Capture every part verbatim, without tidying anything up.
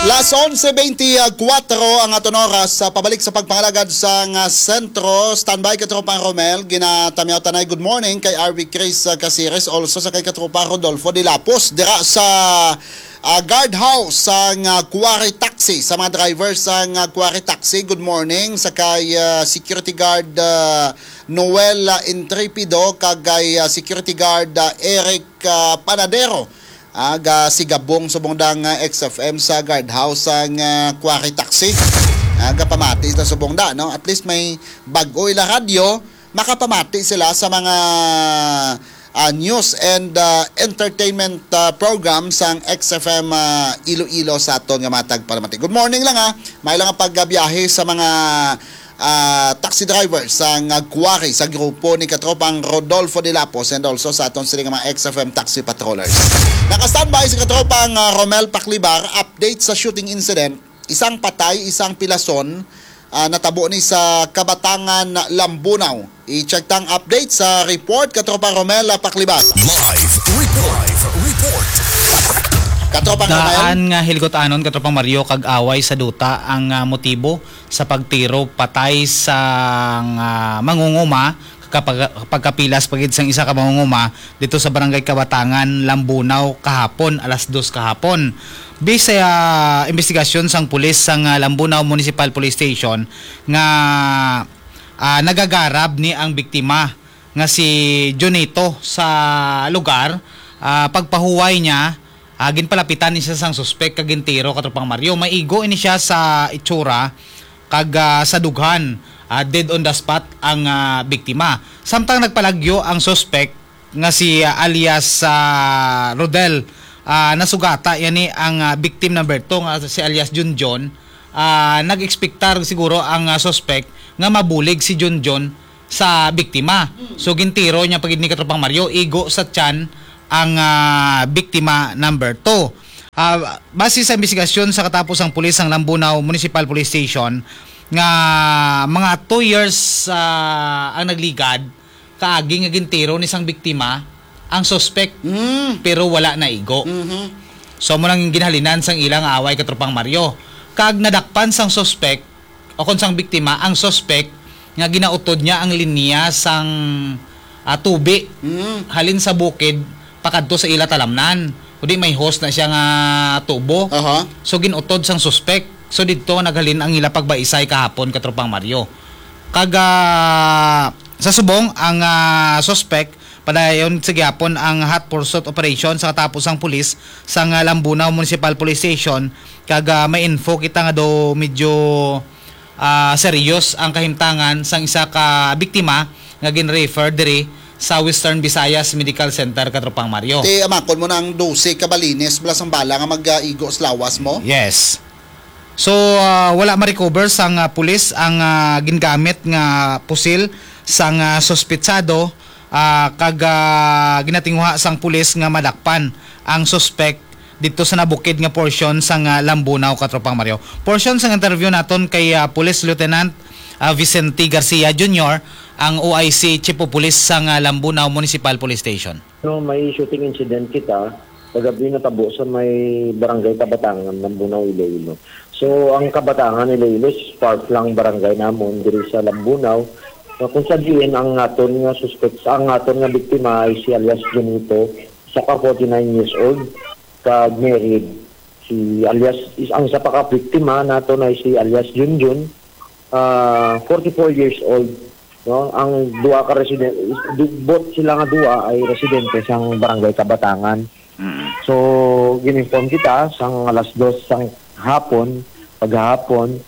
Las onse beintikwatro ang aton oras. Sa pabalik sa pagpangalagad sa nga sentro, standby ka, Tropang Romel. Ginatamyaw tanay, good morning kay R V Chris, uh, Caceres, also sa kay Katropa Rodolfo de Lapos dira sa, uh, guard house sang, uh, Quarry Taxi, sa mga driver sang, uh, Quarry Taxi. Good morning sa kay, uh, security guard, uh, Noel, uh, Intrepido, kag kay, uh, security guard, uh, Eric, uh, Panadero. Ah, gasigabong subong da nga X F M sa guardhouse sang, ah, Quarry Taxi. Ah, gapamati sa subong da, no? At least may bag-o ila radyo, makapamati sila sa mga, ah, news and, ah, entertainment, ah, program sang X F M, ah, Iloilo sa aton nga mga tagpalamati. Good morning lang, ha. May lang ang pagbiyahe sa mga ah, taxi driver sang Quarry sa grupo ni Katropang Rodolfo de Lapos and also sa aton sini nga mga X F M taxi patrollers. Naka-standby si Katropang, ah, Romel Paklibar, update sa shooting incident, isang patay, isang pilason, ah, natabo ni sa Kabatangan, Lambunao. I-check tang update sa report, Katropang Romel, ah, Paklibar. Live report. Live report. Katropang Romel. Daan nga hilgot-anon, Katropang Mario, kag away sa duta ang, ah, motibo sa pagtiro patay sang, ah, mangunguma, kapag-, pagkapilas pa gid sang isa ka mangunguma dito sa Barangay Kabatangan, Lambunao, kahapon, alas dos kahapon. Bisay, ah, investigasyon sang pulis sang, ah, Lambunao Municipal Police Station nga, ah, nagagarab ni ang biktima nga si Junito sa lugar, ah, pagpahuway niya, ah, ginpalapitan ni siya sang suspek kag gintiro, Katropang Mario. Maigo ini siya sa itsura kag, ah, sa dughan, ah, dead on the spot ang, ah, biktima. Samtang nagpalagyo ang suspek nga si, ah, alias, ah, Rodel, ah, nasugata yani ang, ah, victim number two nga si alias Junjun. Ah, nag-ekspektar siguro ang, ah, suspek nga mabulig si Junjun sa biktima. Mm. So, gintiro niya pa gid ni Katropang Mario, igo sa tiyan ang, ah, biktima number two. Ah, base sa investigasyon sa katapusang pulis sang Lambunao Municipal Police Station, nga mga two years, ah, ang nagligad, kaagi nga gintiro ni sang biktima ang suspek, Mm. pero wala na igo. Mhm. So, amo nang ginhalinan sang ilang away, Katropang Mario. Kag nadakpan sang suspek, o kon sang biktima, ang suspek nga ginautod niya ang linya sang, ah, tubi Mm. halin sa bukid pakadto sa ila talamnan. Kundi may hose na siya nga tubo. Aha. So, gin-utod sang suspek. So, didto naghalin ang ila pagbaisay kahapon, Katropang Mario. Kag, ah, sa subong, ang, ah, suspek padayon sa gihapon ang hot pursuit operation sa katapos sang pulis sang, ah, Lambunao Municipal Police Station, kag, ah, may info kita nga daw medyo, ah, serious ang kahimtangan sang isa ka biktima nga gin-refer diri sa Western Visayas Medical Center, Katropang Mario. Ti, amakon mo na ang dose ka balines mula sang bala nga mag-igo sa lawas mo? Yes. So, ah, wala ma-recover sang, ah, pulis ang, ah, gingamit nga pusil sang, ah, suspetsado, ah, kag, ah, ginatinguha sang pulis nga madakpan ang suspek didto sa nabukid nga porsyon sang, ah, Lambunao, Katropang Mario. Porsyon sang interview naton kay, ah, Police Lieutenant, ah, Vicente Garcia Junior, ang O I C Chief of Police sang, ah, Lambunao Municipal Police Station. No, may shooting incident kita kagabi natabo sa may Barangay Kabatangan, Lambunao, Iloilo. So, ang Kabatangan, Iloilo, is far flung barangay namon diri sa Lambunao. Na kung sa diin ang aton nga suspect, ang aton nga biktima ay si alias Junito, isa ka forty-nine years old, kag married. Si alias, is, ang isa pa ka biktima naton ay si alias Junjun, ah, forty-four years old, no? Ang duha ka resident, du-, both sila nga duha ay residente sang Barangay Kabatangan. Mm. So, gin-inform kita sang alas dos sang hapon, paghahapon,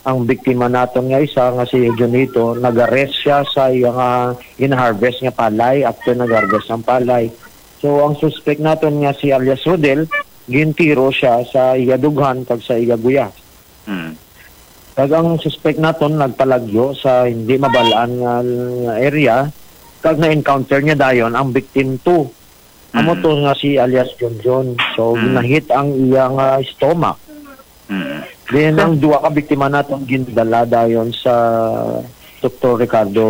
ang biktima naton nga isa nga si Junito, nag-arrest siya sa iya nga gin-harvest nga palay after nag-harvest ang palay. So, ang suspect naton nga si alias Rodel, gintiro siya sa iya dughan kag sa iya guya. Mm. Kag ang suspect naton nagpalagyo sa hindi mabalaan nga area, kag na-encounter niya dayon ang victim two. Amo Mm. to nga si alias Junjun. So, Mm. ginahit ang iya nga stomach. Mm. Then, ang duha ka biktima naton gindala dayon sa Doktor Ricardo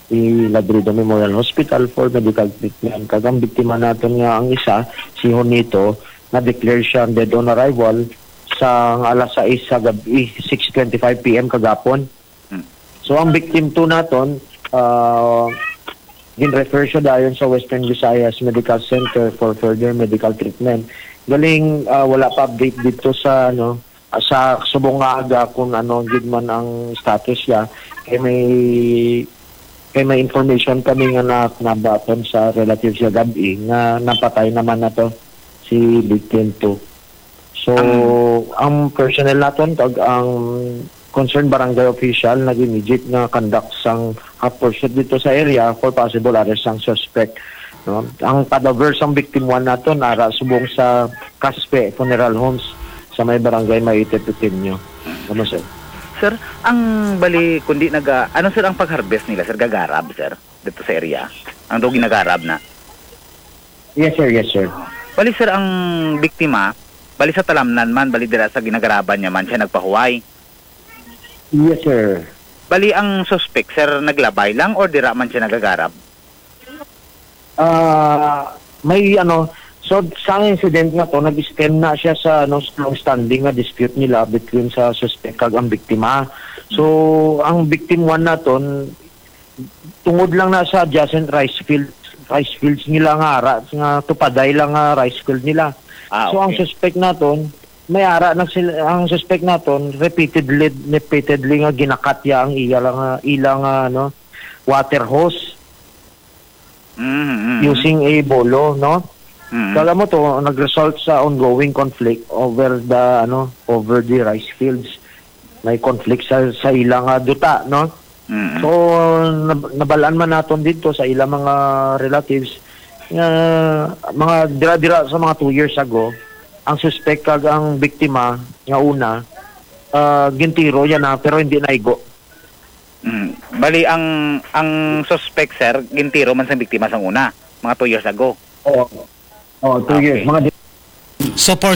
E. Ladrido Memorial Hospital for medical treatment. Kag ang biktima naton nga ang isa, si Honito, na-declare siya dead on arrival sang alas sais sa gabi, six twenty-five P M kagapon. Hmm. So, ang victim two naton, ah, gin-refer siya dayon sa Western Visayas Medical Center for further medical treatment. Galing, ah, wala pa update dito sa, ano, sa subong nga aga kung ano gid man ang status niya. Kay may, kay may information kami nga na, nabaton sa relatives sa gabi nga napatay naman na to si victim two. So, Ang ang personnel naton kag ang concerned barangay official nag-immediate nga conduct sang hot pursuit dito sa area for possible arrest sang suspect, no? Ang cadaver sang victim one naton ara subong sa Caspe Funeral Homes sa may barangay Maite, Pequeño. Ano, sir? Sir, ang bali, kundi naga-, ano, sir, ang pag-harvest nila, sir? Gagarab, sir, dito sa area? Ang daw ginagarab na? Yes, sir. Yes, sir. Bali, sir, ang biktima, bali sa talamnan man, bali dira sa ginagaraban niya man siya nagpahuway. Yes, sir. Bali, ang suspect, sir, naglabay lang or dira man siya nagagarab? Ah, may ano, so sa incident nga to, nag-stem na siya sa, ano, long standing nga dispute nila between sa suspect kag ang biktima. So, ang victim one naton, tungod lang na sa adjacent rice field, rice fields nila nga ara, nga tupaday lang nga rice field nila. Ah, So, ang okay. suspect naton, may ara na sila, ang suspect naton, repeatedly, repeatedly nga ginakatya ang iya lang, ah, ilang, ah, ano, water hose Mm, mm, mm. using a bolo, no? Mm. Kala mo to, nag-result sa ongoing conflict over the, ano, over the rice fields. May conflict sa, sa ilang, ah, duta, no? Mm. So, nab-, nabalaan man naton dito sa ilang mga relatives nga mga dira-dira sa mga two years ago, ang suspect kag ang biktima nga una, ah, gintiro yan na, pero hindi naigo. Mm. Bali, ang, ang suspect, sir, gintiro man sa biktima sang una, mga two years ago. Oo. Oo, two years. Okay. Mga di- So, for